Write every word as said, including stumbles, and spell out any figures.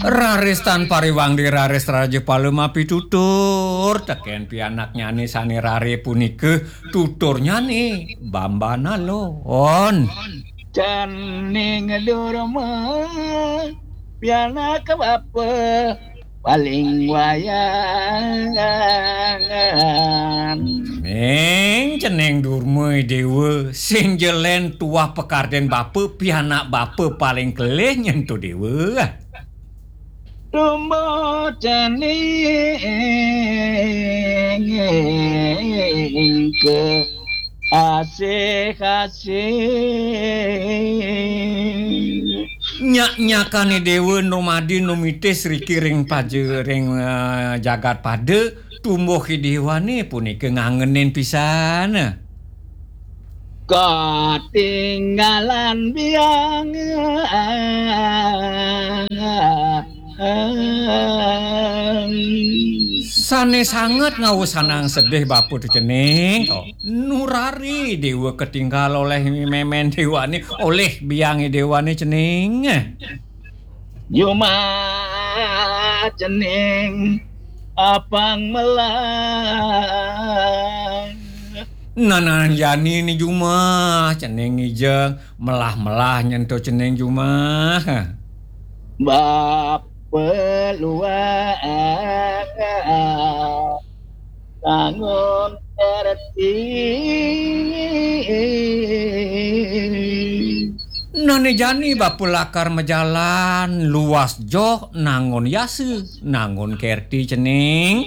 Raris tan pariwangdi raris raja pala mapitutur tekén pianaknyané sané rare punika, tuturnyané Bambanalon. Cening Durma, pianak bapa paling wayangan. Ning cening Durma Déwa, sing jelen tuah pakardén bapa, pianak bapa paling kelih nyen to Déwa. Tumbuh cening ke asih-asih. Nyak-nyakané Déwa numadi numitis riki ring paja ring, eh, jagat pada, tumbuh Déwané punika ngangenin pisan. Katinggalan biang. Sané sanget ngawusanang sedih bapa to cening. To. Nurari Déwa ketinggal olih mémén Déwané, olih biangé Déwané cening. Jumah cening apang melah. Nanan jani ni jumah cening ngijeng melah-melah nyen to cening jumah. Bapa luas tangun kerti. Nané jani bapa lakar majalan luas joh nangun yasa, nangun kerti cening.